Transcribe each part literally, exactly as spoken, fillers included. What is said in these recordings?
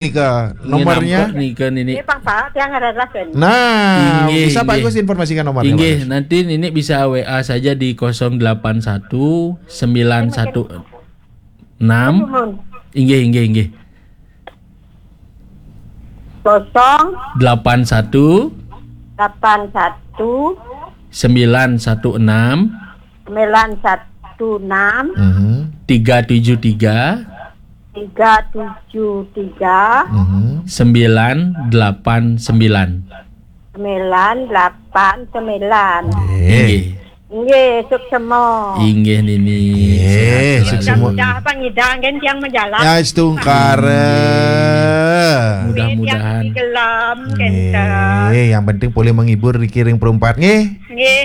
Nika, nomornya. Nggih, Pak, Pak, yang ada lah kan. Nah, inggih, bisa Pak Agus informasikan nomornya, Pak Agus? Inggih, nanti Nini bisa W A saja di kosong delapan satu sembilan satu enam. Inggih, inggih, inggih. Kosong delapan satu delapan satu sembilan satu enam sembilan satu enam Mhm. tiga tujuh tiga tiga tujuh tiga Mhm. sembilan delapan sembilan. Sembilan delapan sembilan. Nggih. Nggih. Nggih, suksema. Inggih, Nini. Nggih, sehat selalu. Mudah-mudahan pangidang kan tiang majalan. Ya, setungkara. Nggih. Mudah-mudahan. Tiang di gelam, kenten. Nggih, yang penting boleh menghibur niki ring perempat, nggih. Nggih.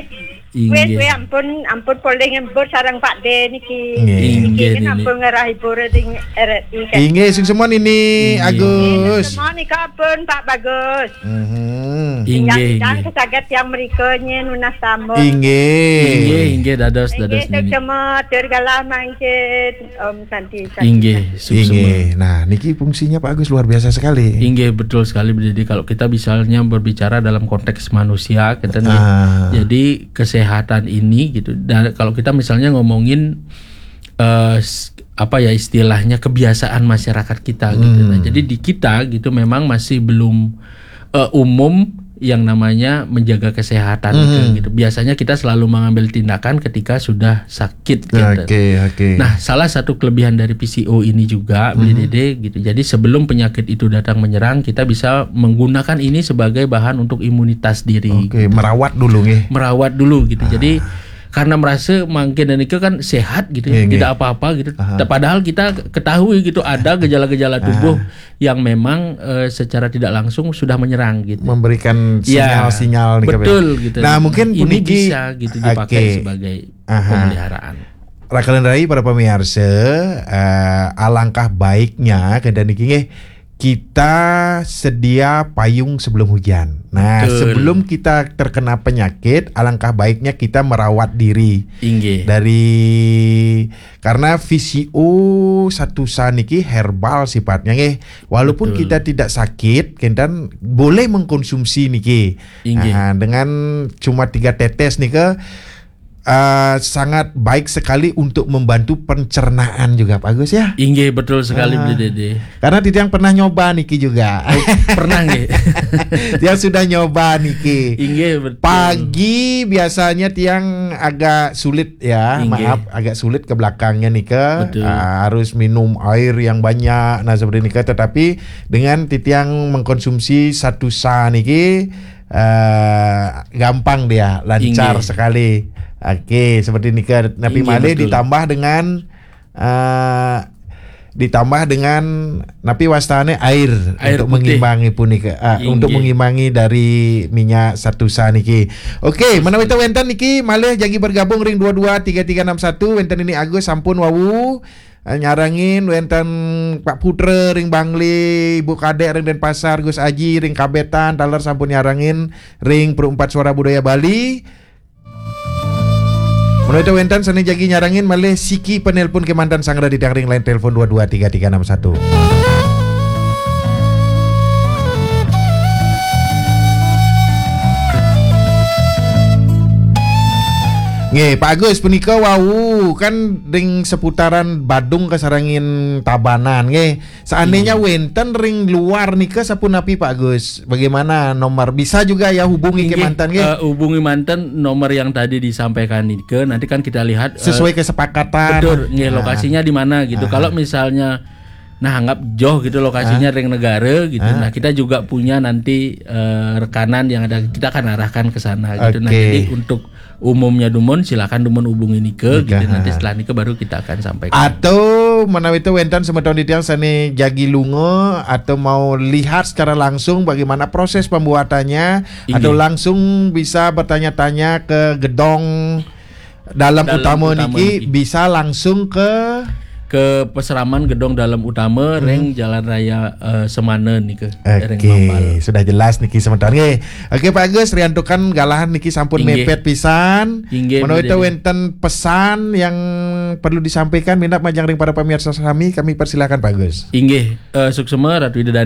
Inggih. Wis, wis, ampun, ampun polih ngibur sareng Pak De niki. Nggih. Niki inggih, kan Nini. Ampun ngerah hibur ring R R I kan. Inggih, suksema Nini inggih. Agus. Nggih, suksema nika pun Pak Bagus. Mhm. Inggih, inggih. Kesaget yang merikanya nunas tamu. Inggih. Inggih, inggih, dados, inggih, dados Nini. Suksema, tur galah mangkin. Om Santi, Santi, inggih, Santi. Suksema. Inggih. Nah, niki fungsinya Pak Agus luar biasa sekali. Inggih, betul sekali, Bu Dede. Kalau kita misalnya berbicara dalam konteks manusia, kita nih, ah, jadi kesehatan ini gitu. Dan kalau kita misalnya ngomongin, eh, s-, apa ya istilahnya, kebiasaan masyarakat kita gitu. Nah, hmm, jadi di kita gitu memang masih belum, eh, umum yang namanya menjaga kesehatan gitu, hmm, gitu. Biasanya kita selalu mengambil tindakan ketika sudah sakit gitu. Oke, oke. Nah, salah satu kelebihan dari P C O ini juga, hmm, Bu Dede gitu. Jadi sebelum penyakit itu datang menyerang, kita bisa menggunakan ini sebagai bahan untuk imunitas diri. Oke, gitu. Merawat dulu nggih. Merawat dulu gitu. Ah. Jadi karena merasa mangkin dan itu kan sehat gitu ya, nggih, nggih, tidak apa-apa gitu. Aha. Padahal kita ketahui gitu ada gejala-gejala tubuh, ah, yang memang, eh, secara tidak langsung sudah menyerang gitu. Memberikan, ya, sinyal-sinyal nih, betul gitu. Nah, mungkin ini puniki bisa gitu dipakai, oke, sebagai, aha, pemeliharaan. Raka lan rai para pemirsa, eh, alangkah baiknya kenten niki nggih kita sedia payung sebelum hujan. Nah, betul, sebelum kita terkena penyakit, alangkah baiknya kita merawat diri. Inggih. Dari, karena P C O satu sa niki herbal sifatnya nggih. Walaupun, betul, kita tidak sakit, kenten boleh mengkonsumsi niki. Inggih. Nah, dengan cuma tiga tetes nika, eh, sangat baik sekali untuk membantu pencernaan juga, Pak Agus, ya. Inggih, betul sekali, ah, Bu Dede. Karena titiang pernah nyoba niki juga. Oh, pernah nggih. Tiang sudah nyoba niki. Inggih, betul. Pagi biasanya tiang agak sulit ya, inggih, maaf, agak sulit ke belakangnya nika. Betul. Ah, harus minum air yang banyak, nah, seperti nika. Tetapi dengan titiang mengkonsumsi satu sa niki, eh, gampang dia, lancar, inggih, sekali. Oke, seperti nika, napi, inggih, malih betul, ditambah dengan, eh, ditambah dengan napi wastane air, air untuk putih, mengimbangi punika, eh, inggih, untuk mengimbangi dari minyak satu sa niki. Oke, betul, menawi wenten niki malih jagi bergabung ring dua dua tiga tiga enam satu, wenten ini Agus sampun wau, eh, nyarengin, wenten Pak Putra ring Bangli, Ibu Kadek ring Denpasar, Gus Aji ring Kabetan, taler sampun nyarengin ring Perempat Suara Budaya Bali. Menawi wenten sane jagi nyarengin malih siki penelpon kemanten sanggra di ring line telepon dua dua tiga tiga enam satu. Nggih, Pak Agus, punika wau kan ring seputaran Badung kasarengin Tabanan, nggih. Seandainya, hmm, wenten ring luar nika sapunapi, Pak Agus? Bagaimana nomor? Bisa juga ya hubungi, inggih, kemanten, nggih? Eh, hubungi manten nomor yang tadi disampaikan nika. Nanti kan kita lihat, eh, sesuai kesepakatan. Betul, nggih, ah, lokasinya di mana gitu. Ah. Kalau misalnya, nah, anggap jauh gitu lokasinya, ah, ring negara gitu. Ah. Nah, kita juga punya nanti, eh, rekanan yang ada, kita akan arahkan ke sana gitu. Nah, oke, jadi untuk umumnya dumun, silakan dumun hubungi nika, gitu. Nika, nanti, ha, setelah nika baru kita akan sampaikan. Atau menawi wenten semeton titiang sane jagi lunga atau mau lihat secara langsung bagaimana proses pembuatannya, inggih, atau langsung bisa bertanya-tanya ke gedong dalam, dalam utama, utama niki, niki, bisa langsung ke, ke Peseraman, Gedong Dalem Utama, ring Jalan Raya eh, Semana nika. Ring Oke, sudah jelas niki sementara. Nggih. Oke Pak Agus, riantukan galahan niki sampun Inggih. Mepet pisan. Inggih, Menawi Bu Dede. Wenten pesan yang perlu disampaikan minat majeng ring para pemirsa sami, kami persilakan Pak Agus. Inggih, eh, suksema Ratu Ida Dane